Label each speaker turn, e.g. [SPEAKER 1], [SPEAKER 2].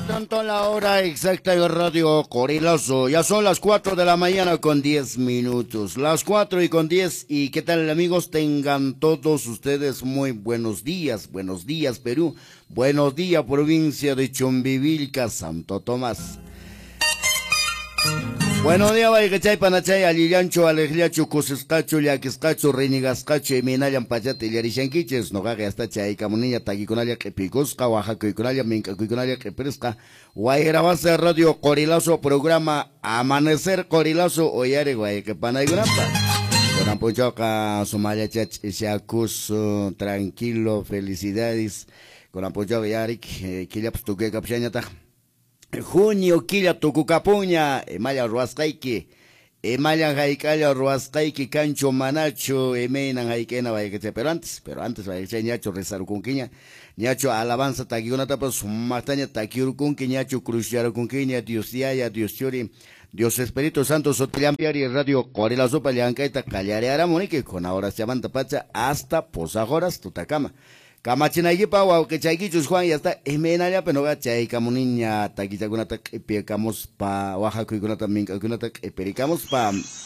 [SPEAKER 1] Tanto la hora exacta de Radio Qorilazo. Ya son las 4 de la mañana con 10 minutos. Las 4 y con 10. ¿Y qué tal, amigos? Tengan todos ustedes muy buenos días. Buenos días, Perú. Buenos días, provincia de Chumbivilca, Santo Tomás. Buenos días, wayqichay, panachay, allillanchu, aleqllachu, kusisqachu, llakisqachu, rinigasqachu, imaynallan pachata illarishankichis, noqaqa hasta chaykamuniña takikunalla q'ipikusqa, waqakuykunalla, mink'akuykunalla q'ipirisqa, Wayrawasa Radio Qorilazo, programa Amanecer Qorilazo, uyariq wayqi panaykunapa. Kunan p'unchawqa sumallacha ch'ishakusun, tranquilo, felicidades. Kunan p'unchawqa yarik, killapas tukuykapushañataq. Junio killa tukukapunña, imalla ruwasqayki, imallan hayk'alla ruwasqayki kanchu manachu, imaynan hayk'ayna wayqichay, pero antes wayqichay, ñachu rezarukunkiña, ñachu alabanza takikunatapas sumaqtaña takiyurkunki, ñachu cruzyarukunkiña, Dios Yaya, Dios Churi, Dios Espíritu Santo sutillanpi Radio Qorilazopa llank'ayta qallariaramuniki, kuna horas pacha hasta pusaq horas tutakama. Kamachinaykipaq wawqichaykichus Juan ya está imaynallapi noqa chaykamuniña takichakunata q'ipiykamuspa waqakuykunata mink'akuykunata q'ipirikamuspa.